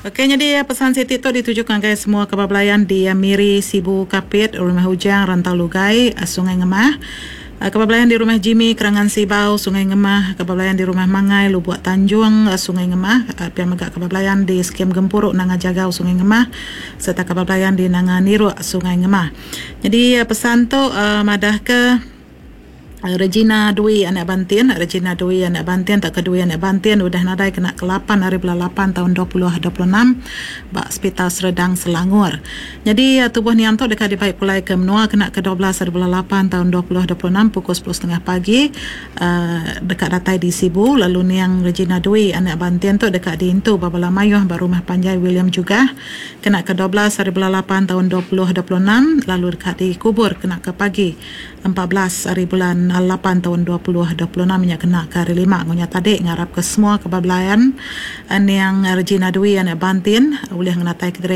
Ok nyadi pesan siti tu dituju ngagai semua kaban belayan di Miri, Sibu, Kapit, Rumah Ujang, Rantau Lugai, Sungai Ngemah. Kaban belayan di Rumah Jimmy, Kerangan Sibau, Sungai Ngemah, kaban belayan di Rumah Mangai, Lubuk Tanjung, Sungai Ngemah, pia mega kaban belayan di Skim Gempuru Nanga Jagau, Sungai Ngemah sereta kaban belayan di Nanga Niruk, Sungai Ngemah. Nyadi pesan tu madahka. Regina Dwi anak Bantin, Regina Dwi anak Bantin tauka Dwi anak Bantin udah nadai kena ke lapan ari bulan lapan taun 2026 ba Sepital Serdang Selangor. Nyadi tubuh niang tu deka dibai pulai ke menua kena ke 12 ari bulan lapan taun 2026 pukul sepuluh setengah pagi deka datai di Sibu lalu niang Regina Dwi anak Bantin tu deka diintu ba bala mayuh ba Rumah Panjai William Jugah kena ke 12 ari bulan lapan taun 2026 lalu deka dikubur kena ke pagi 14 ari bulan lapan taun 2026 nya kena ke hari lima ngunya tadi ngarap ke semua ke ba belayan niang Regina Dwi anak Bantin ulih ngenatai kediri.